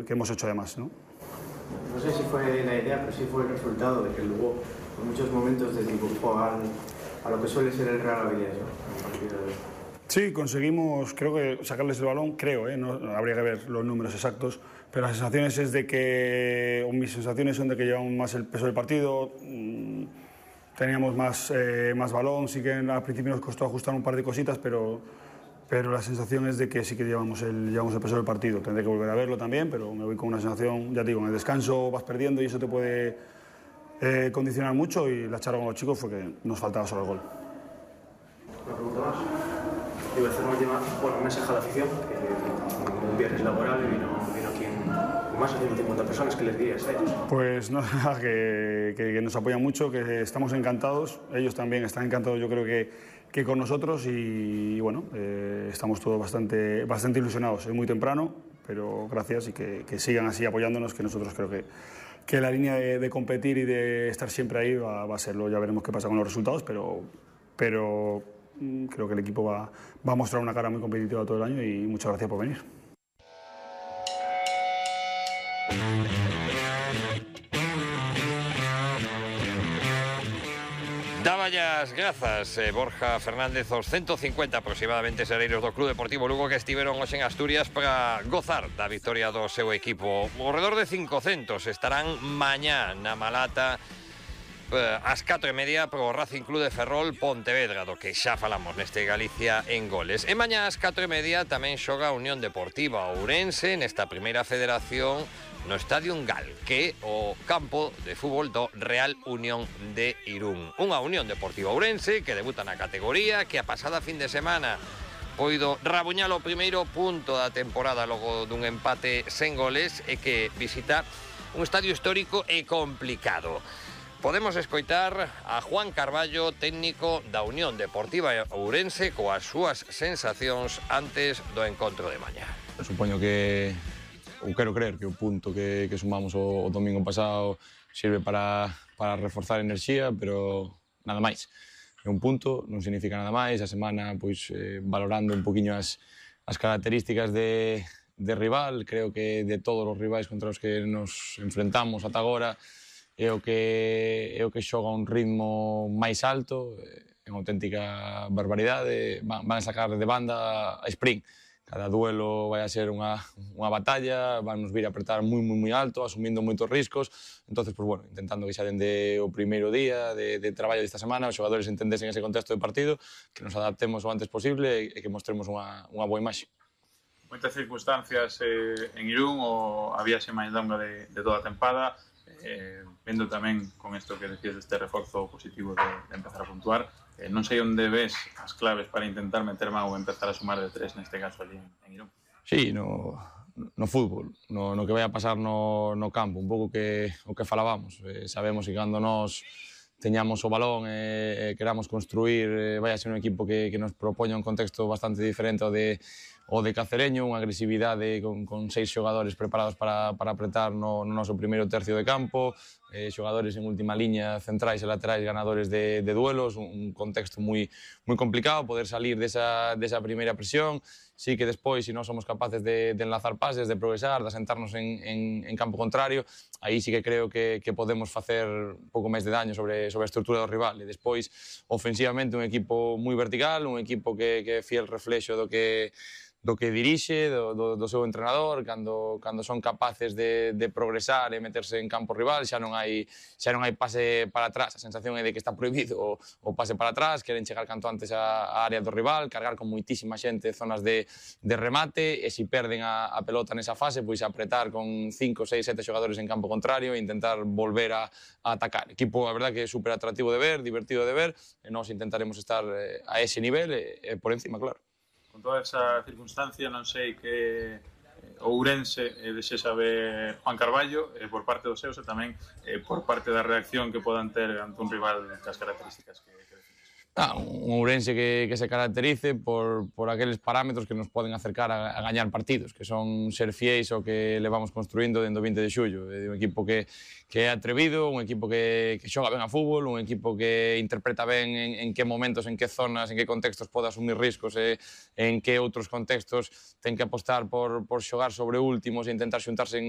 hemos hecho además, ¿no? No sé si fue la idea, pero sí fue el resultado de que luego en muchos momentos desdibujó a lo que suele ser el Real Avilés, ¿no? Sí, conseguimos, creo que sacarles el balón, creo, no, habría que ver los números exactos, pero las sensaciones es de que, o mis sensaciones son de que llevamos más el peso del partido, teníamos más balón, sí que al principio nos costó ajustar un par de cositas, pero la sensación es de que sí que llevamos el peso del partido. Tendré que volver a verlo también, pero me voy con una sensación, ya te digo, en el descanso vas perdiendo y eso te puede condicionar mucho, y la charla con los chicos fue que nos faltaba solo el gol. Una pregunta más. Iba a hacer una última, un mensaje a la afición, que un viernes laboral y vino aquí más de 150 personas. ¿Qué les dirías a ellos? Pues no, que nos apoyan mucho, que estamos encantados, ellos también están encantados, yo creo que con nosotros, y bueno, estamos todos bastante ilusionados. Es muy temprano, pero gracias, y que sigan así apoyándonos, que nosotros creo que la línea de competir y de estar siempre ahí va a serlo. Ya veremos qué pasa con los resultados, pero creo que el equipo va a mostrar una cara muy competitiva todo el año, y muchas gracias por venir. Dáballas grazas, Borja Fernández, os 150 aproximadamente sereiros do Club Deportivo Lugo que estiveron hoxe en Asturias para gozar da victoria do seu equipo. Ao redor de 500 estarán mañá na Malata ás 4:30 pro Racing Club de Ferrol Pontevedra, do que xa falamos neste Galicia en goles. E mañá ás 4:30 tamén xoga a Unión Deportiva Ourense nesta primeira federación no Estadio Engal, que é o campo de fútbol do Real Unión de Irún. Unha Unión Deportiva Ourense que debuta na categoría, que a pasada fin de semana poido rabuñar o primeiro punto da temporada logo dun empate sen goles, e que visita un estadio histórico e complicado. Podemos escoitar a Juan Carballo, técnico da Unión Deportiva Ourense, coas súas sensacións antes do encontro de mañá. Supoño que, ou quero creer que o punto que sumamos o domingo pasado sirve para reforzar enerxía, pero nada máis. É un punto, non significa nada máis. A semana, pois, valorando un poquinho as características de rival, creo que de todos os rivais contra os que nos enfrentamos ata agora, é o que xoga un ritmo máis alto, é unha auténtica barbaridade. Van a sacar de banda a sprint. Cada duelo vai a ser unha batalla, van nos vir a apretar moi alto, asumindo moitos riscos. Entonces, pues bueno, intentando que xa dende o primeiro día de traballo desta semana os xogadores entendesen ese contexto de partido, que nos adaptemos o antes posible e que mostremos unha boa imaxe. Moitas circunstancias en Irún, a viaxe máis longa de toda a tempada, vendo tamén con isto que decías deste reforzo positivo de empezar a puntuar, non sei onde ves as claves para intentar meter man ou empezar a sumar de tres neste caso ali en Irún. Sí, no fútbol, no que vai a pasar no campo, un pouco o que falábamos. Sabemos que cando nos teñamos o balón e queramos construir, vai a ser un equipo que nos propoña un contexto bastante diferente ao de Cacereño, unha agresividade con 6 xogadores preparados para apretar no noso primeiro tercio de campo, xogadores en última liña, centrais e laterais ganadores de duelos, un contexto moi complicado, poder salir desa primeira presión. Sí que despois, se non somos capaces de enlazar pases, de progresar, de asentarnos en campo contrario, aí sí que creo que podemos facer un pouco máis de daño sobre a estrutura do rival. E despois, ofensivamente, un equipo moi vertical, un equipo que é fiel reflexo do que dirixe, do seu entrenador. Cando son capaces de progresar e meterse en campo rival, xa non hai pase para atrás. A sensación é de que está prohibido o pase para atrás, queren chegar canto antes á área do rival, cargar con moitísima xente zonas de remate, e se perden a pelota nesa fase, pois apretar con 5, 6, 7 xogadores en campo contrario e intentar volver a atacar. Equipo, a verdad, que é super atractivo de ver, divertido de ver, e nós intentaremos estar a ese nivel e por encima, claro. Con toda esa circunstancia, non sei que Ourense desexa ver Juan Carballo por parte dos seus e tamén por parte da reacción que podan ter ante un rival das características que defines. Un Ourense que se caracterice por aqueles parámetros que nos poden acercar a gañar partidos, que son ser fiéis ao que levamos construindo dende o 20 de xullo. É un equipo que é atrevido, un equipo que xoga ben a fútbol, un equipo que interpreta ben en que momentos, en que zonas, en que contextos pode asumir riscos e en que outros contextos ten que apostar por xogar sobre últimos e intentar xuntarse en